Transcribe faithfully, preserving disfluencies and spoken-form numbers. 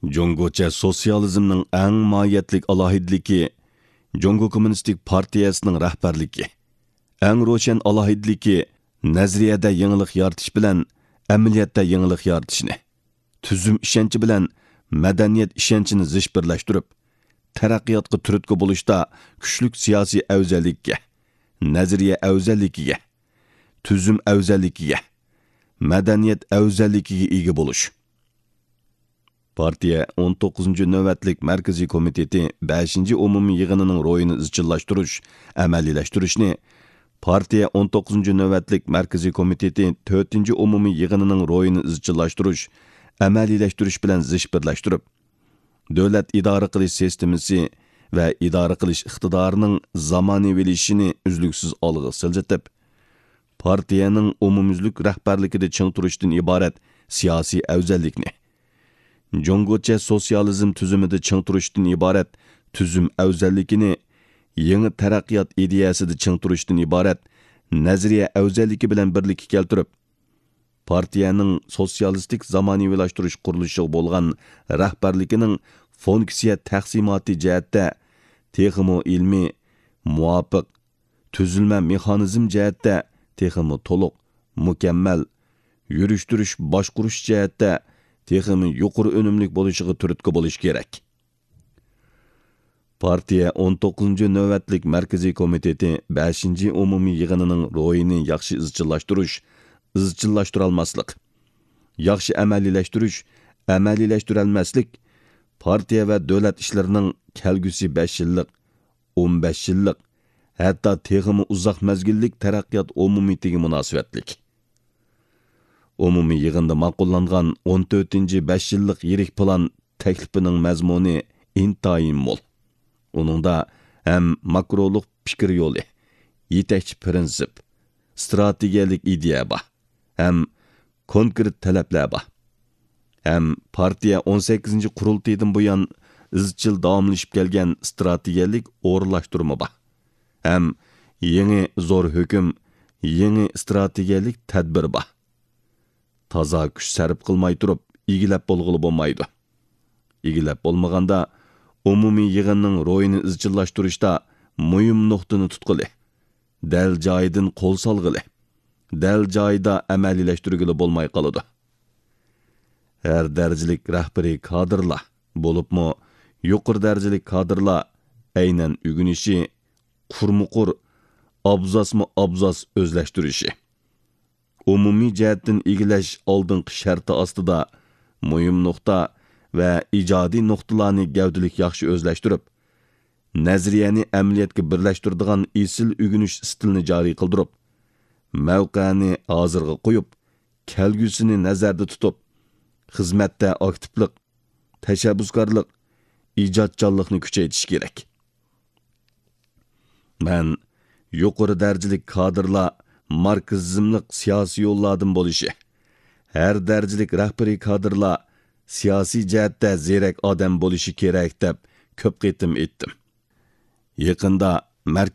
جۇڭگوچە سوتسىيالىزمنىڭ ئەڭ ماھىيەتلىك ئالاھىدىلىكى جۇڭگو كوممۇنىستىك پارتىيەسىنىڭ رەھبەرلىكى. ئەڭ روشەن ئالاھىدىلىكى نەزەرىيەدە يېڭىلىق يارىتىش بىلەن ئەمەلىيەتتە يېڭىلىق يارىتىشنى، تۈزۈم ئىشەنچى بىلەن مەدەنىيەت ئىشەنچىنى زىچ بىرلەشتۈرۈپ، تەرەققىياتقا تۈرتكە بولۇشتا كۈچلۈك سىياسىي ئەۋزەللىككە، نەزەرىيە ئەۋزەللىكىگە، تۈزۈم ئەۋزەللىكىگە، مەدەنىيەت ئەۋزەللىكىگە ئىگە بولۇش. پارتىيە ئون توققۇزىنچى نۆۋەتلىك مەركىزىي كومىتېتى بەشىنچى ئومۇمىي يىغىنىنىڭ روھىنى ئىزچىللاشتۇرۇش، ئەمەلىيلەشتۈرۈشنى، پارتىيە ئون توققۇزىنچى نۆۋەتلىك مەركىزىي كومىتېتى تۆتىنچى ئومۇمىي يىغىنىنىڭ روھىنى ئىزچىللاشتۇرۇش، ئەمەلىيلەشتۈرۈش بىلەن زىچ بىرلەشتۈرۈپ، دۆلەت ئىدارە قىلىش سىستېمىسى ۋە ئىدارە قىلىش ئىقتىدارىنىڭ زامانىۋىلىشىشىنى ئۈزلۈكسىز ئالغا سىلجىتىپ، پارتىيەنىڭ ئومۇميۈزلۈك رەھبەرلىكىدە چىڭ تۇرۇشتىن ئىبارەت سىياسىي ئەۋزەللىكنى، جۇڭگوچە سوتسىيالىزم تۈزۈمىدە چىڭ تۇرۇشتىن ئىبارەت تۈزۈم ئەۋزەللىكىنى، يېڭى تەرەققىيات ئىدىيەسىدە چىڭ تۇرۇشتىن ئىبارەت نەزەرىيە ئەۋزەللىكى بىلەن بىرلىككە كەلتۈرۈپ، پارتىيەنىڭ سوتسىيالىستىك زامانىۋىلاشتۇرۇش قۇرۇلۇشىغا بولغان رەھبەرلىكىنىڭ فۇنكسىيە تەقسىماتى جەھەتتە تېخىمۇ ئىلمىي، مۇۋاپىق، تۈزۈلمە مېخانىزم جەھەتتە تېخىمۇ تولۇق، مۇكەممەل، يۈرۈشتۈرۈش باشقۇرۇش جەھەتتە تېخىمۇ يۇقىرى ئۈنۈملۈك بولۇشىغا تۈرتكە بولۇش كېرەك. پارتىيە ئون توققۇزىنچى نۆۋەتلىك مەركىزىي كومىتېتى بەشىنچى ئومۇمىي يىغىنىنىڭ روھىنى ياخشى ئىزچىللاشتۇرۇش، ئىزچىللاشتۇرالماسلىق، ياخشى ئەمەلىيلەشتۈرۈش، ئەمەلىيلەشتۈرەلمەسلىك، پارتىيە ۋە دۆلەت ئىشلىرىنىڭ كەلگۈسى بەش يىللىق، ئون بەش يىللىق، ھەتتا تېخىمۇ ئۇزاق مەزگىللىك تەرەققىيات ئومۇمىيىتىگە مۇناسىۋەتلىك. ئومۇمىي يىغىندا ماقۇللانغان ئون تۆتىنچى بەش يىللىق يىرىك پىلان تەكلىپىنىڭ مەزمۇنى ئىنتايىن مول. ئۇنىڭدا ھەم ماكرولۇق پىكىر يولى، يېتەكچى پىرىنسىپ، ئىستراتېگىيەلىك ئىدىيە بار، ھەم كونكرېت تەلەپلەر بار. ھەم پارتىيە ئون سەككىزىنچى قۇرۇلتىيىدىن بۇيان ئىزچىل داۋاملىشىپ كەلگەن ئىستراتېگىيەلىك ئورۇنلاشتۇرما بار. ھەم يېڭى زور ھۆكۈم، يېڭى ئىستراتېگىيەلىك تەدبىر بار. تازا كۈچ سەرپ قىلماي تۇرۇپ ئىگىلەپ بولغىلى بولمايدۇ. ئىگىلەپ بولمىغاندا، ئومۇمىي يىغىننىڭ روھىنى ئىزچىللاشتۇرۇشتا مۇھىم نۇقتىنى تۇتقىلى، دەل جايىدىن قول سالغىلى، دەل جايىدا ئەمەلىيلەشتۈرگىلى بولماي قالىدۇ. ھەر دەرىجىلىك رەھبىرىي كادىرلار، بولۇپمۇ يۇقىرى دەرىجىلىك كادىرلار ئەينەن ئۆگىنىشى، قۇرمۇقۇر، ئابزاسمۇ ئابزاس ئۆزلەشتۈرۈشى، ئومۇمىي جەھەتتىن ئىگىلەش ئالدىنقى شەرتى ئاستىدا مۇھىم نۇقتا ۋە ئىجادىي نۇقتىلارنى گەۋدىلىك ياخشى ئۆزلەشتۈرۈپ، نەزەرىيەنى ئەمەلىيەتكە بىرلەشتۈرىدىغان ئېسىل ئۆگىنىش ئىستىلىنى جارى قىلدۇرۇپ، مەۋقەنى ھازىرغا قويۇپ، كەلگۈسىنى نەزەردە تۇتۇپ، خىزمەتتە ئاكتىپلىق، تەشەببۇسكارلىق، ئىجادچانلىقنى كۈچەيتىش كېرەك. مەن يۇقىرى دەرىجىلىك كادىرلار ماركسىزملىق سىياسىي يوللاردىن بولۇشى، ھەر دەرىجىلىك رەھبىرىي كادىرلار سىياسىي جەھەتتە زېرەك ئادەم بولۇشى كېرەك دەپ كۆپ قېتىم ئېيتتىم. يېقىندا مەركىزىي